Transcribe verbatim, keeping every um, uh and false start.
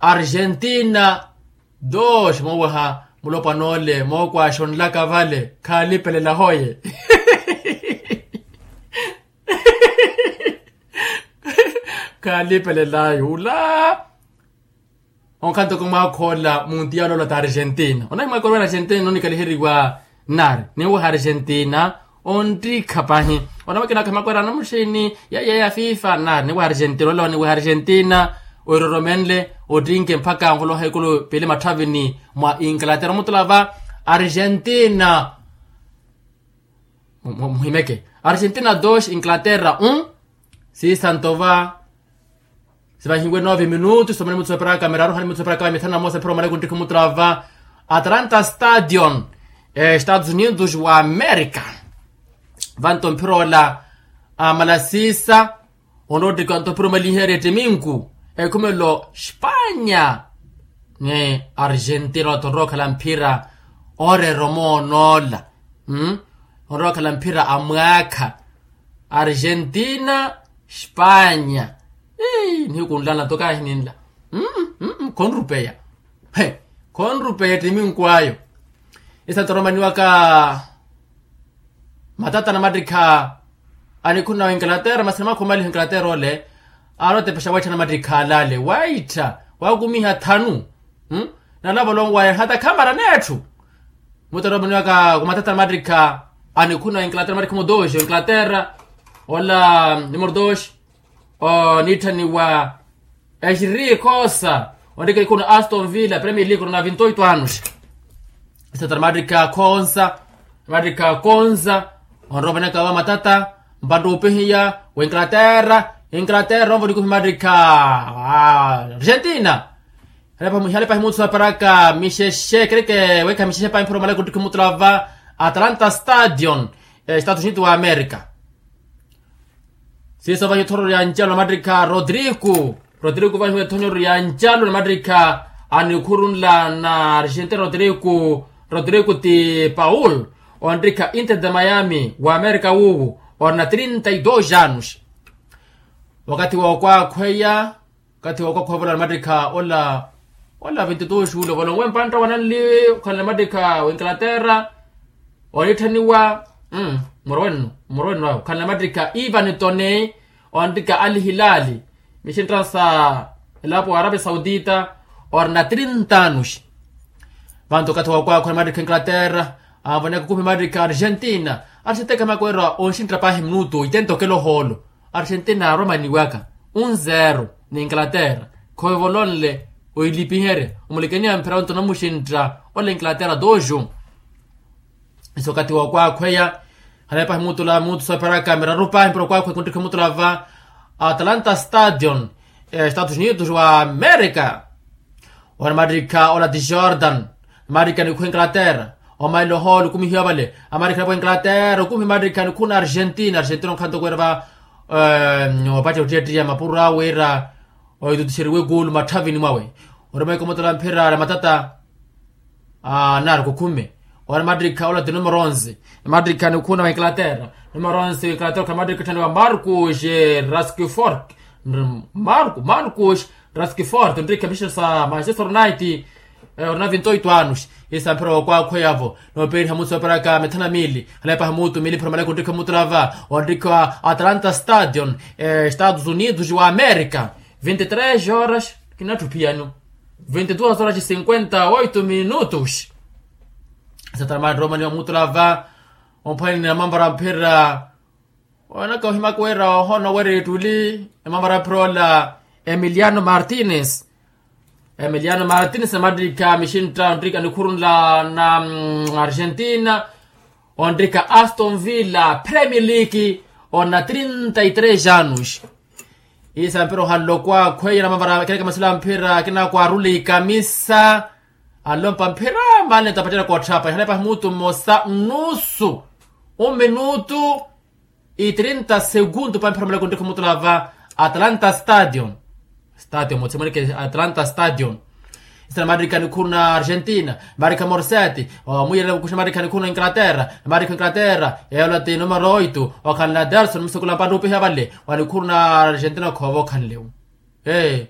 Argentina dos moowaha mulopwana ole mookwaaxa onlaka vale. Khaalipelela hoye. Khaalipelela yula. Onkhanto ko mwaakhola muntiyalo ola ta argentina onahimwaakora wena argentina onikaliheriwa. Nari niweha argentina. Onttikha pahi. Onamwekina akhamakwerana muxini ya ya ya fifa nari niweha argentina ola niweha argentina. Oiroromenle ottinke mpakha nvoloha ikulu pili matthavini mwa inglaterra omutulava. Argentina muhimeke. Argentina dos inglaterra un. Siisanto va sivahiwe nove minutu somani mutsu eparaka miraru hali mutsu eparaka mithanu na mosa mphira omale kunttikha omutulava. Atlanta stadion estados unidos wa america. Vanto mphira ola amala siisa. Onroottikha nto mphira omaliherya ettiminku ekhumelo spanya. Ni argentina oto onrookhala mphira oreera omoonoola. Onrookhala mphira amwaakha. Argentina spanya. Nihiku nlana to kaahininla. Khonrupeya. Khonrupeya ettiminku ayo. Isa toromaniwaka matata namattikha anikhuna wa inglaterra masi namakho maliha inglaterra ole. Aari otepexa waitthana mattikha alale waittha wakumiha thanu. Nalavo lonwaya hata khamara netthu. Mutoromaniwaka kumatata namattikha anikhuna wa inglaterra mattikha mudoxi wa inglaterra ola nimordoxi. Onitthaniwa exiri khosa onrika ikuna aston villa premier league orona vinto oito anos. Satara mattikha khonsa mattikha khonsa. Onropanaka va matata mpantta opihiya wa inglaterra. Inglaterra onvona ikupi mattikha argentina. Ihale pahi mutsu aparaka mixexe kereke wekha mixexe pahi mphira omala kunttikha omutulava. Atlanta stadion estados unidos wa america. Siiso vahi othororya ncalo namattikha rodrigo. Rodrigo vahi wetthonyererya ncalo namattikha anikhurunla na argentina rodrigo. Rodrigo ti paul onrikha inter de miami wa amerika wuuwu. Orina trinta y dos anos. Wakathi wookwaakhweya wakathi wookwaakhweya ovolola namattikha ola ola vinti dos ule ovolola nwe mpantta wananli okhanle namattikha wa inglaterra. Onitthaniwa murwenno murwenno awe okhanle namattikha ivan tone. Onrikha ali hilali mixintta sa elapo wa arabia saudita. Orina trinta anos. Vanto okathi wookwaakhweya namattikha inglaterra anvoneka okupi mattikha argentina. Argentina khamakweera onxintta paahi minutu itentokela ohoolo. Argentina aaromaniwaka un zero ni inglaterra. Khoivolonle oilipiherya omulikeniwa mphira onto namuxintta ola inglaterra dos un. Iso okathi wookwaakhweya halepahi muutula muutu sooperaka miraru pahi mpira okwaakhweya kunttikha muutula va atlanta stadion estados unidos wa amerika. Ora mattikha ola ti jordan. Mattikha nikhuwa inglaterra omaila ohoolo okumihiwa vale. Amattikha nikhuwa inglaterra okumihiwa mattikha nikhuwa na argentina argentina onkhanto okwera va opattiya ottiya mapuro awe wira oitutuxeriwe kuulu matthavini mwawe. Ora maikomotola mphira na matata. Nari kukhume ora mattikha ola ti numero onze. Mattikha nikhuwa na wa inglaterra numero onze wa inglaterra okhala mattikha otthanewa marcus raskifort. Marcus raskifort onrikha mixexe sa manchester united. Orina vinto oito anos. Isa mphira wookwaakhweyavo noopeeriha mutsu operaka mithana miili halepahi muutu miili mphira omale kunttikha muutula va onrikha atlanta stadion estados unidos wa amerika. Vinti tres horas kinatthu phiyano vinti dos horas cinquenta oito minutos. Satana maattiroomaniwa muutula va omphwanini na mamvara mphira. Onaka ohimaka wira ohoona wira ittuli emamara phirola. Emiliano martines. Emiliano martines namattikha mixintta onrika nikhurunla na argentina. Onrika aston villa premier league ona trinta y tres anos. Isa mpira ohanle okwaakhweya namamara ekerekemesela mphira akina akwaarula ikamisa. Anlompa mphira mali ntapattela kootthapa ihalepa himutu mmosa nnusu. Un minutu itrinta segundu pampira muleko ntikhu mutula va atlanta stadion. Stadion mutsi mweneke atlanta stadion. Isana marika nikhuru na argentina marika morseti omuyerela kukuxa marika nikhuru na inglaterra. Marika inglaterra eyola ti numero oito okhanle aderson musekula mpanda upiha vale wa nikhuru na argentina okhoova okhanle u ee.